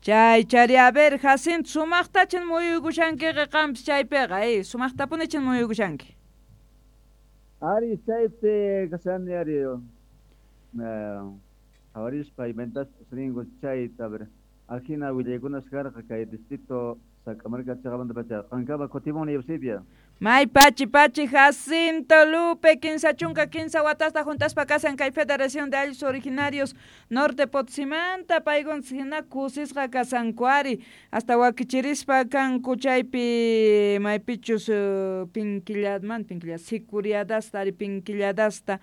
Chay chari, a ver, Jacinto, sumaqtachin muyuykushankiqa qampis chaypiqa, sumaqtapunichin muyuykushanki. Ari chaypi kashani ari qhawarispa imaynatachus ringu chayta, a ver, ajina willaykunas karqa kay distrito Sac'amarka chaqamantapacha. Qankama kutimuni, Eusebia. May pachi pachi, Jacinto Lupe, 33 watasta junt'aspa kasan kay Federación de Ayllus Originarios Norte Potosimanta, paykuntas hina kusisqa kasanku ari, hasta wakichirispa kanku chaypi maypichus pinkilladman pinkillada sicuriadasta ari pinkilladasta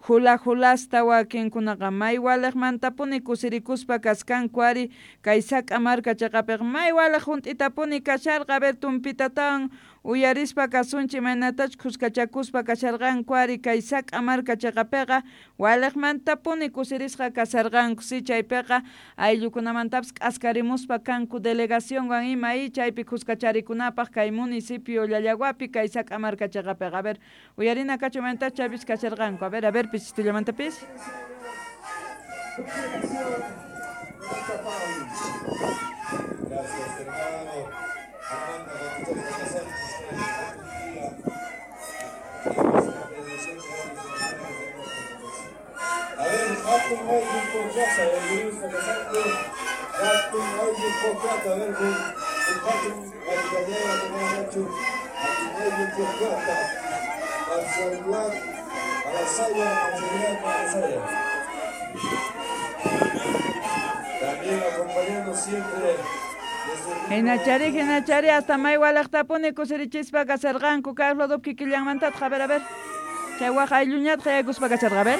hula hulasta wakinkunaqa may waliqmantapuni kusirikuspa kaskanku ari kay Sac'amarka chaqapiqa may waliq junt'itapuni kasharqa. A ver, tumpitatawan uyarispa kasunchik imaynatachus khuskachakuspa kasharqanku ari kay Sac'amarka chaqapiqa waliqmantapuni kusirisqa kasarqanku si chaypiqa ayllukunamantapis k'askarimuspa kanku delegacionwan ima y chaypi khuskacharikunapaq kay municipio Llallaguapi kay Sac'amarka chaqapiqa. A ver, uyarina kachu imaynatachus chaypis kasharqanku. A ver, pichitullamantapis. Gracias, hermano. Armando Bautista Sánchez, A ver, Hatun Ayllu Pocata, el Luis Casante, Hatun Ayllu Pocata, a ver, el Hatun Ayllu Nacho, Hatun Ayllu Pocata, Marcial Alasaya, Marcial Alasaya. También acompañando siempre. Hinachari, hinachari, hasta may waliqtapuni kusirichispa kasarqanku. Carlos Dop kikillanmantataq, a ver, a ver. Chay waq aylluñataq yaykuspa kasharqa, a ver.